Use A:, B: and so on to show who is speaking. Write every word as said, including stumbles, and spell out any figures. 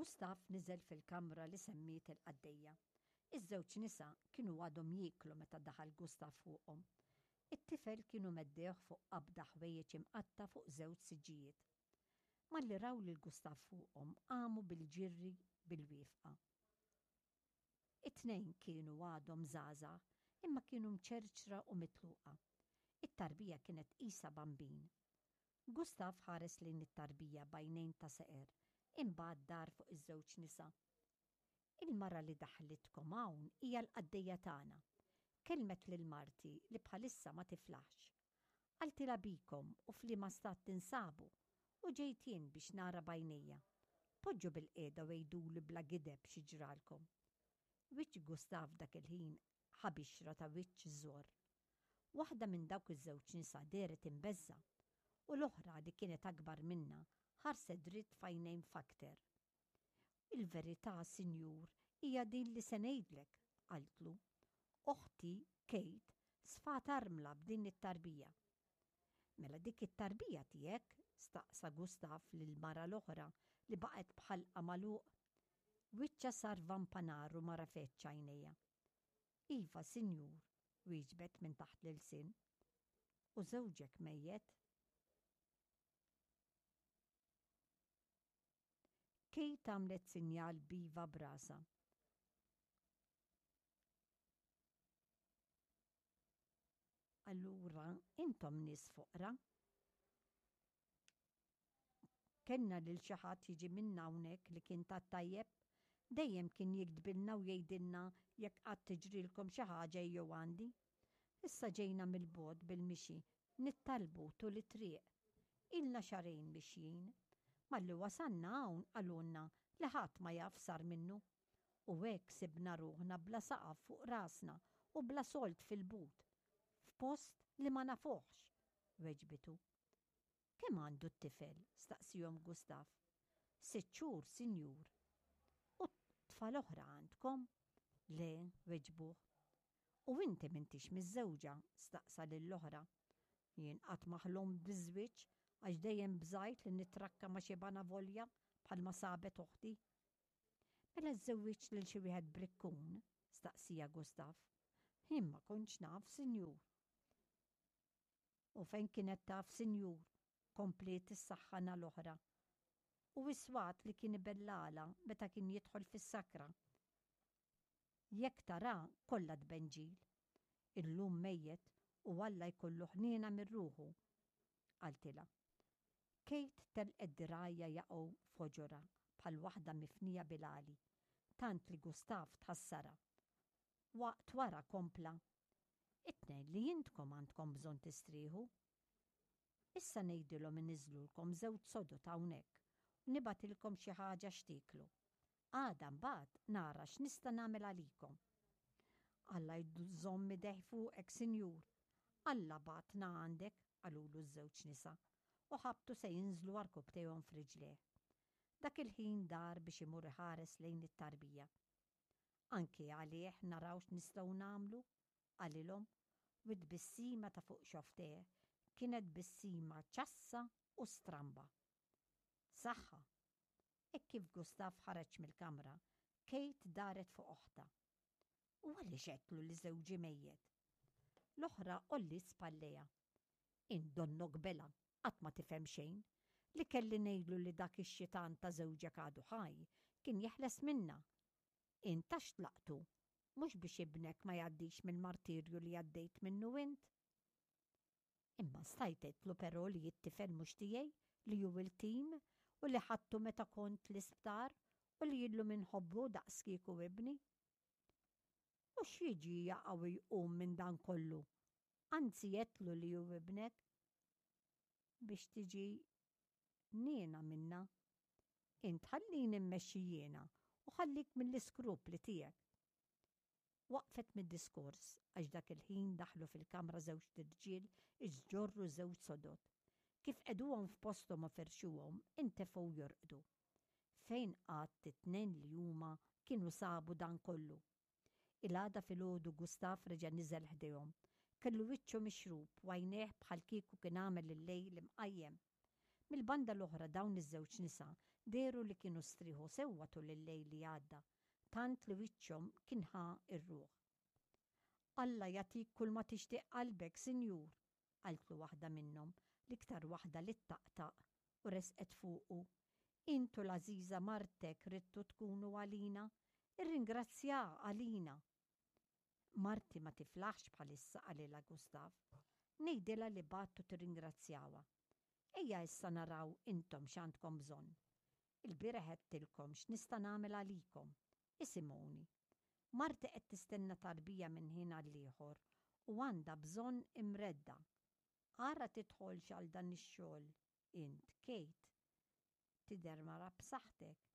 A: Gustav niżel fil-kamra li semmiet il-qaddejja. Iż-żewġ nisa kienu għadhom jieklu meta daħal Gustav fuqhom. It-tifel kienu meddewh fuq qabda ħwejjeġ imqatta' fuq żewġ siġġijiet. Malli raw lil Gustav fuqhom qamu bil-ġirri bil-wieqfa. It-tnejn kienu għadhom żgħażagħ imma kienu mċerċra u mitluqa. It-tarbija kienet qisha bambin. Gustav ħares lejn it-tarbija b'għajnejn ta' seqer, imbagħad dar fuq iż-żewġ nisa. Il-mara li daħlitkom hawn hija l-qaddejja tagħna. Kellmet lil marti li bħalissa ma tiflaħx. Qaltilha bikom u f'liema stat tinsabu u ġejt jien biex nara b'għajnejja. Poġġu bilqiegħda u għiduli bla gideb xi ġralkom. Wiċċ Gustav dak il-ħin ħa bixra ta' wiċċ żorr. Waħda minn dawk iż-żewġ nisa dehret imbeżżgħa u l-oħra li kienet akbar minnha ħarset dritt f'għajnejn Fakter. Il-verità, sinjur, hija din li se ngħidlek, qaltlu. Oħti, Kate, sfat armla b'din it-tarbija. Mela dik it-tarbija tiegħek? staqsa Gustav lill-mara l-oħra li baqgħet b'ħalqha magħluq. Wiċċha sar vampa nar u ma rafetx għajnejha. Iva, sinjur, wieġbet minn taħt l-ilsien. U żewġek mejjet? Kate għamlet sinjal b'iva b'rasha. Allura intom nies foqra? Kellna lil xi ħadd jiġi minn hawnhekk li kien tat-tajjeb? Dejjem kien jiktbilna u jgħidilna jekk qatt tiġrilkom xi ħaġa ejjew għandi. Issa ġejna mill-bogħod bil-mixi, nittalbu tul it-triq. Ilna xahrejn mixjin. Malli wasalna hawn qalulna li ħadd ma jaf x'sar minnu. U hekk sibna ruħna bla saqaf fuq rasna u bla sold fil-but, f'post li ma nafuhx, weġbitu. Kemm għandu t-tifel? staqsihom Gustav. Sitt xhur, sinjur. U tfal oħra għandkom? Le, weġbuh. U inti m'intix miżżewġa? staqsa lill-oħra. Jien qatt ma ħlomt biż-żwieġ għax dejjem bżajt li nitrakka ma' xi banavolja bħalma sabet oħti. Mela żżewwiġt lil xi wieħed brikkun? staqsija Gustav. Jien ma kontx naf, sinjur. U fejn kienet taf, sinjur? kompliet is-saħħana l-oħra. U is-swat li kien ibellagħalha meta kien jidħol fis-sakra. Jekk tara kollha tbenġil. Illum mejjet u Alla jkollu ħniena minn ruħu, qaltilha. Kate telqet dirgħajha jaqgħu f'ħoġorha bħal waħda mifnija bil-għali, tant li Gustav tħassarha. Waqt wara kompla, It-tnejn li intkom għandkom bżonn tistrieħu. Issa ngħidilhom iniżżlulkom żewġ sodod hawnhekk u nibgħatilkom xi ħaġa x'tieklu. Għada mbagħad nara x'nista' nagħmel għalikom. Alla jżomm idejh fuqek, sinjur. Alla bagħatna għandek, qalulu ż-żewġ nisa, u ħabtu se jinżlu għarkupptejhom f'riġlejh. Dak il-ħin dar biex imur iħares lejn it-tarbija. Anki għalih naraw x'nistgħu nagħmlu, qalilhom, u t-tbissima ta' fuq xofftejh kienet tbissima ċassa u stramba. Saħħa! Hekk kif Gustav ħareġ mill-kamra, Kate daret fuq oħtha. U għaliex għedtlu li żewġi mejjet? L-oħra għolliet spallejha. Int donnok bela, qatt ma tifhem xejn. Li kelli ngħidlu li dak ix-xitan ta' żewġek għadu ħaj, kien jeħles minna. Int għax tlaqtu, mhux biex ibnek ma jgħaddix mill-martirju li għaddejt minnu int? Imma stajt għedtlu però li t-tifel mhux tiegħi, li hu iltim u li ħadtu meta kont l-isptar u li illum inħobbu daqs kieku ibni. U x'jiġi jaqa' u jqum minn dan kollu? Anzi għedtlu li hu ibnek biex tiġi niena minna. Int ħallini mmexxi jiena u ħallik mill-iskrupli tiegħek. Waqfet mid-diskors għax dak il-ħin daħlu fil-kamra żewġt irġiel iġorru żewġ sodod. Kif qegħduhom f'posthom u ferxuhom, intefgħu jorqdu. Fejn qatt it-tnejn li huma kienu sabu dan kollu? Il-għada filgħodu Gustav reġa' niżel ħdejhom. Kellu wiċċu mixrub u għajnejh bħal kieku kien għamel il-lejl imqajjem. Mill-banda l-oħra dawn iż-żewġ nisa Dehru li kienu strieħu sewwa tul il-lejl li għadda, tant li wiċċhom kien ħa r-ruħ. Alla jagħtik kulma tixtieq qalbek, sinjur, qaltlu waħda minnhom, l-iktar waħda li ttaqtaq, u resqet fuqu. Int u l-għażiża martek ridtu tkunu għalina, irringrazzjaha għalina. Marti ma tiflaħx bħalissa, qalilha Gustav. Ngħidilha li bgħattu tirringrazzjawha. Ejja issa naraw intom x'għandkom bżonn. Il-bieraħ għedtilkom x'nista' nagħmel għalikom. Isimgħuni. Marti qed tistenna tarbija minn ħin għall-ieħor u għandha bżonn imredda. Ara tidħolx għal dan ix-xogħol int, Kate. Tidher mara b'saħħtek.